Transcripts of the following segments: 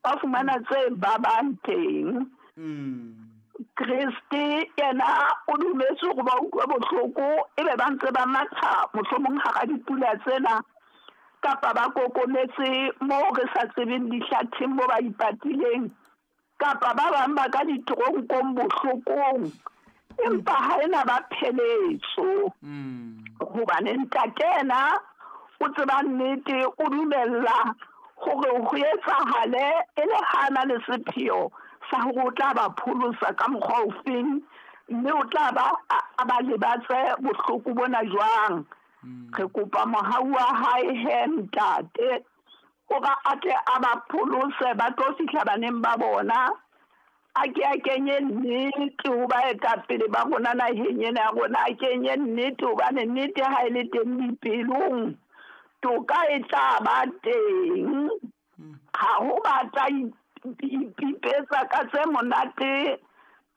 Ba fumana tse babang teng. Kreste yena o dumetse hore ba utlwe bohloko, ebe ba ntse ba matha mohlomong hara dipula tsena, kapa ba kokometse moo re sa tsebeng dihlatheng mo ba ipatileng, kapa ba bang ba ka ditoronkong bohlokong, empa ha ena ba pheletso. Hobane ntate yena o tseba nnete, o dumella hore ho etsahale e le hana le sepheo sa hore o tla ba pholosa ka mokgwa ofeng, mme o tla ba a ba lebatse bohloko bona jwang. Re kopa mohau wa hae he ntate, hore a tle a ba pholose ba tlo fihla baneng ba bona. A ke a kenye nnete ho baetapele ba rona naheng ena ya rona, a kenye nnete, hobane nnete ha e le teng dipelong, toka e tla ba teng. Ha ho ba tla ipipetsa ka tse monate,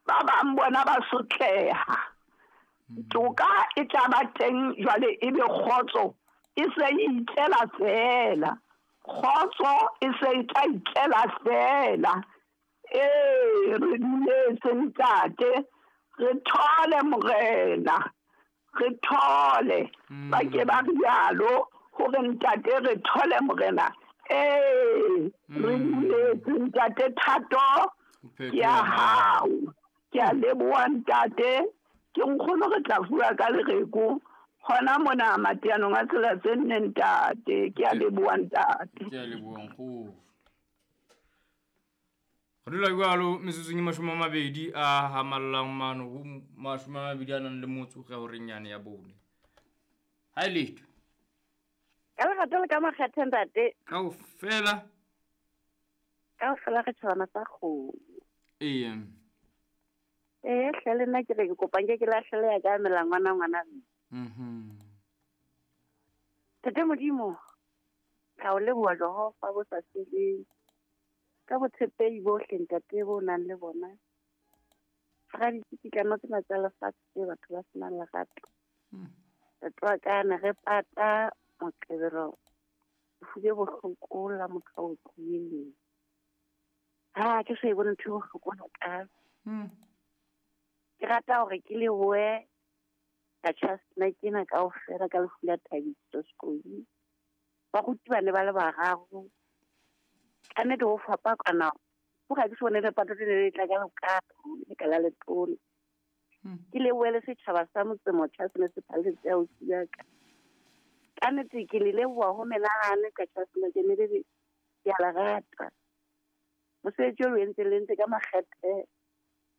ba bang bona ba sotleha. Toka e tla ba teng jwale, ebe kgotso e se e itlela feela. Kgotso e se e tla itlela feela. Ee, re dumetse ntate, re thole morena, re thole. Ba ke ba rialo hore ntate re thole morena. Ee, re dumetse ntate, thato ke ya hao. Ke a leboha ntate, ke nkgono re tla fuwa ka lereko hona mona mateanong a tsela tse nne ntate. Ke a leboha ntate. Ke a leboha nkgono. Re dula jwalo metsotsong e 20 a hamallang mano ho 20 a nang le motso ge horeng yane ya bone. Ha e letho. Ka lerato le ka makgethe ntate. Kaofela. Kaofela re tjhabana sa kgomo. Ee. Ee, hle le nna ke re ke kopa nke ke lahlele ya ka melangwana ngwana mme. Ntate Modimo, ka o leboha Jehova bo sa feleng. Ka botshepehi bohle ntate bo nang le bona. Hara ditsikitlano tsena tsa lefatshe tse batho ba senang lerato. Ntate wa ka ne re pata Moqebelo, lefu le bohloko la motho a otlileng. Ha ke so e bone ntho e bohloko hakalo. Ke rata hore ke lebohe ka tjhasna kena kaofela ka lefu la Thabiso Sekodi. Baruti ba ne ba le bararo. Ka nnete ho fapakana. Ho ga ke se bone lepato le le tla ka lokato, le ka la letona. Ke lebohe le setjhaba sa motse motjha se ne se phalletse ausi ya ka. Ka nnete ke le leboha ho menahane ka tjhasna ke ne le le ke a le rata. Mosebetsi o lo entseng le entse ka makgethe.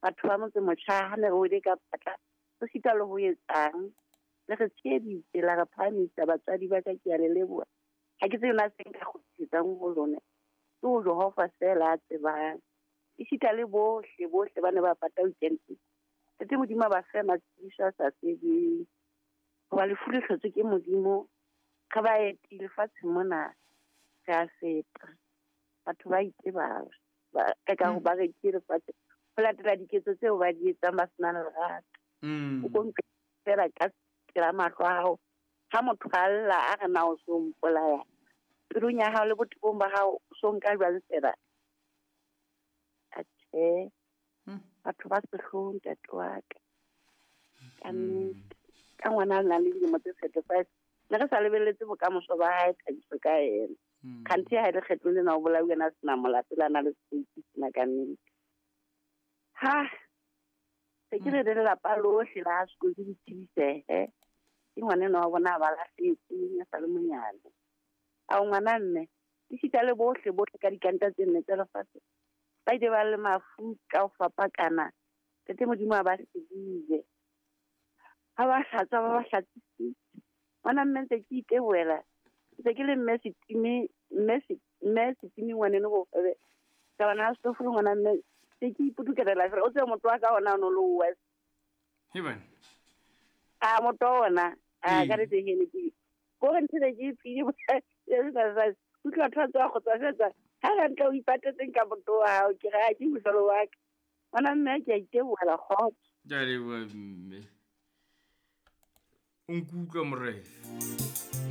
Batho ba motse motjha ha ne re wele ka patla, ho sita le ho etsang. Le re tsheheditse, la re phahamisa batswadi ba ka, ke a le leboha. Ha ke tsebe na se nka kgutlisetsang ho lona. Ke ho Jehova feela a tsebang. Esita le bohle, bohle ba ne ba pata weekend. Ntate Modimo a ba fe matshediso a sa feleng. Hoba lefu le hlotswe ke Modimo, re baeti lefatsheng mona, re a feta. Batho ba itebala, ba ka ka ho ba rekile lefatshe ho latela diketso tseo ba di etsang ba senang lerato. O ko ntle fela ka pela mahlo a hao. Ha motho a lla a re na o so mpolaya, pelong ya hao le botebong ba hao o so nka jwang fela? Atjhe, batho ba sehloho ntate wa ka. Ka nnete, ka ngwana a nang le dilemo tse 35, ne re sa lebelletse bokamoso ba hae Thabiso ka yena. Kganthe ha e le kgetlong lena o bolauwe a sena molato, le a na le sepeiti sena ka nnete. Ha se ke re le lelapa lohle la sekolo le tsebisehe. Ke ngwanenwa wa bona ba lahlehetseng a sa le monyane. Ao ngwana mme, esita le bohle bohle ka dikanta tse nne tsa lefatshe ba ile ba le mafu ka ho fapakana. Ntate Modimo a ba sedile. Ha ba hlatswa ba ba hlatsisitse. Ngwana mme ntse ke itebohela. Ntse ke le mme Setime, mme Setime ngwaneno bofebe. Ka bana ha setofo le ngwana mme se ke ipudukelela fela. O tsebe motho wa ka ona o no le o west. Heban. A motho wa ona, a ka nnete ke ne ke ko re ntho e ke e tsile, e utlwa batho ba tswa kgotsa fetsa. Ha re ntle o ipatetseng ka motho wa hao, ke re ha ke mohlolo wa ka. Ngwana mme ke a itebohela kgotso. Ke a leboha mme. O nkutlwa morena.